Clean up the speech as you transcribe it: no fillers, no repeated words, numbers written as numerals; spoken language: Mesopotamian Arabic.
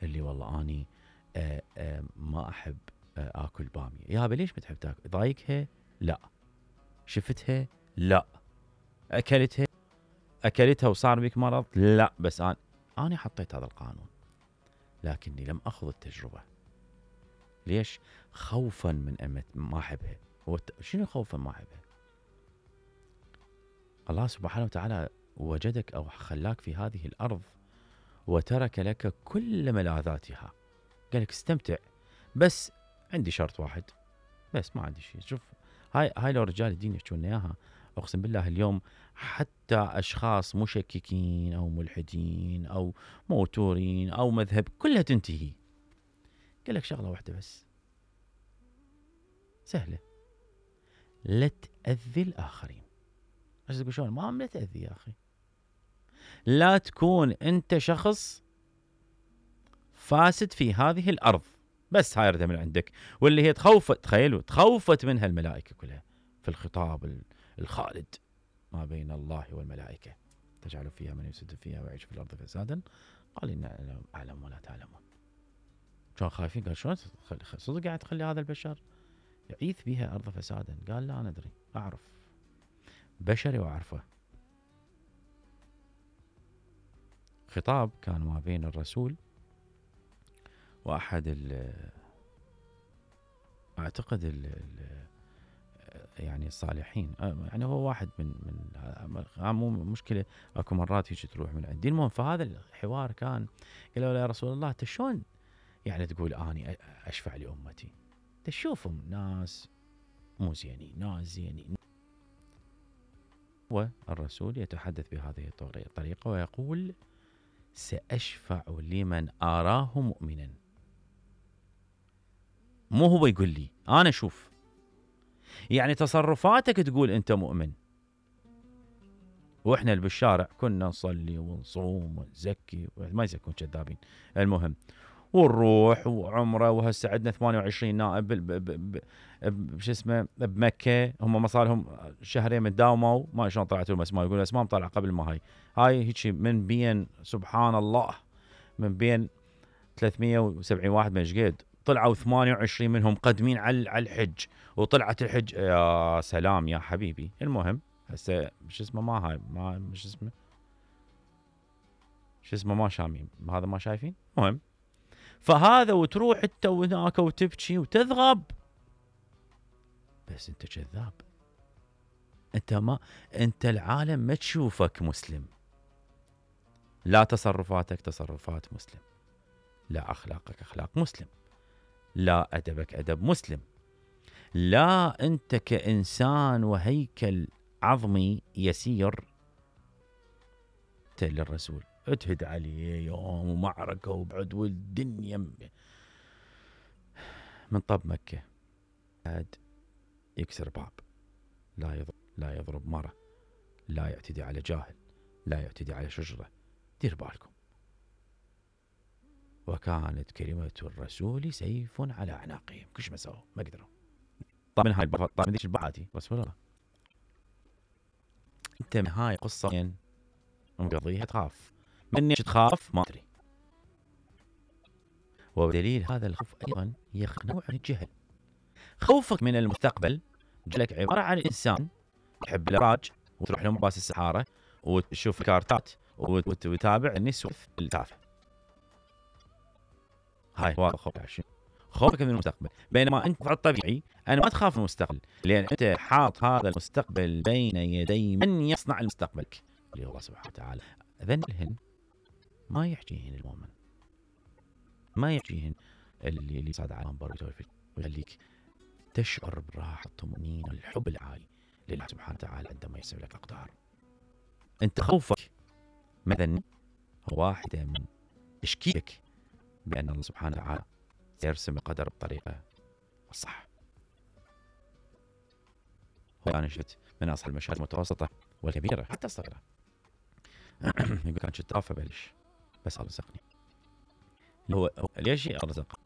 اللي والله اني ما احب اكل باميه. يابا ليش ما تحب تاكل؟ ضايقها؟ لا. شفتها؟ لا. اكلتها وصار بك مرض؟ لا. بس انا حطيت هذا القانون، لكني لم اخذ التجربه. ليش؟ خوفا من ما احبها. شنو خوفا ما احبها؟ الله سبحانه وتعالى وجدك او خلاك في هذه الارض وترك لك كل ملاذاتها، قال لك استمتع، بس عندي شرط واحد، بس ما عندي شيء. شوف هاي لو رجال الدين يحكون اياها، اقسم بالله اليوم حتى اشخاص مشككين او ملحدين او موتورين او مذهب كلها تنتهي. قال لك شغله واحده بس سهله، لا تاذي الاخرين. ايش تقول شلون؟ ما تاذي يا اخي، لا تكون انت شخص فاسد في هذه الارض، بس هاي من عندك. واللي هي تخيلوا تخوفت منها الملائكه كلها في الخطاب الخالد ما بين الله والملائكه، تجعل فيها من يفسد فيها ويعيش في الارض فسادا، قال إن اعلم ولا تعلمون. كانوا خايفين، قال شلون صدق قاعد تخلي هذا البشر يعيث بها ارض فسادا؟ قال لا انا ادري، اعرف بشري واعرفه. خطاب كان ما بين الرسول واحد اعتقد يعني الصالحين، يعني هو واحد من مو مشكله، اكو مرات هيك تروح من عندي. المهم فهذا الحوار كان، قالوا له يا رسول الله انت شلون يعني تقول اني اشفع لامتي؟ تشوفهم ناس مو زينين، ناس زينين. والرسول يتحدث بهذه الطريقه ويقول ساشفع لمن اراه مؤمنا. مو هو يقول لي، انا اشوف. يعني تصرفاتك تقول انت مؤمن، واحنا اللي بالشارع كنا نصلي ونصوم ونزكي، ما يزكون كذابين، المهم ونروح وعمره. وهسه عندنا 28 نائب شو اسمه بمكه، هم ما صار لهم شهرين متداوموا، ما شلون طلعت لهم اسماء، يقول اسماء طلع قبل ما هاي هيك من بين سبحان الله من بين 370 واحد من شقيد طلعوا 28 منهم قدمين على الحج، وطلعت الحج يا سلام يا حبيبي. المهم هسه شو اسمه ما شو اسمه ما شامين هذا ما شايفين. المهم فهذا وتروح انت وهناك وتبكي وتذغب، بس انت كذاب. انت العالم ما تشوفك مسلم، لا تصرفاتك تصرفات مسلم، لا اخلاقك اخلاق مسلم، لا ادبك ادب مسلم، لا انت كانسان وهيكل عظمي يسير للرسول اتهد عليه يوم ومعركه وبعد والدنيا من طب مكه، قاعد يكسر باب، لا يضرب مرة، لا يعتدي على جاهل، لا يعتدي على شجرة. دير بالكم. وكانت كلمة الرسول سيف على أعناقهم، كش ما سووا ما قدروا. طبعا هاي طبعا ذيك البعاتي رسول الله. انت من هاي قصة مقضيها تخاف، مني تخاف ما ادري. ودليل هذا الخوف ايضا هي نوع من الجهل. خوفك من المستقبل جلك عبارة عن انسان تحب الابراج وتروح لمباس السحارة وتشوف كارتات وتتابع النسوة التافهة. هاي هو خوفك من المستقبل. بينما انت في الطبيعي انا ما تخاف من المستقبل، لان انت حاط هذا المستقبل بين يدي من يصنع المستقبل اللي هو الله سبحانه وتعالى. ذنهن ما يحكيهن المؤمن، ما يحكيهن اللي صاد على المنبر ويخليك تشعر بالراحه الطمأنينه الحب العالي لله سبحانه وتعالى عندما يسوي لك اقدار. انت خوفك مثلا هو واحده من تشكيك بان الله سبحانه وتعالى سيرسم القدر بطريقه الصح. انا شفت من اصحاب المشاهد المتوسطه والكبيره حتى الصغيره يقول كان شفت ابلش بس الله رزقني. هو ليش الله رزق؟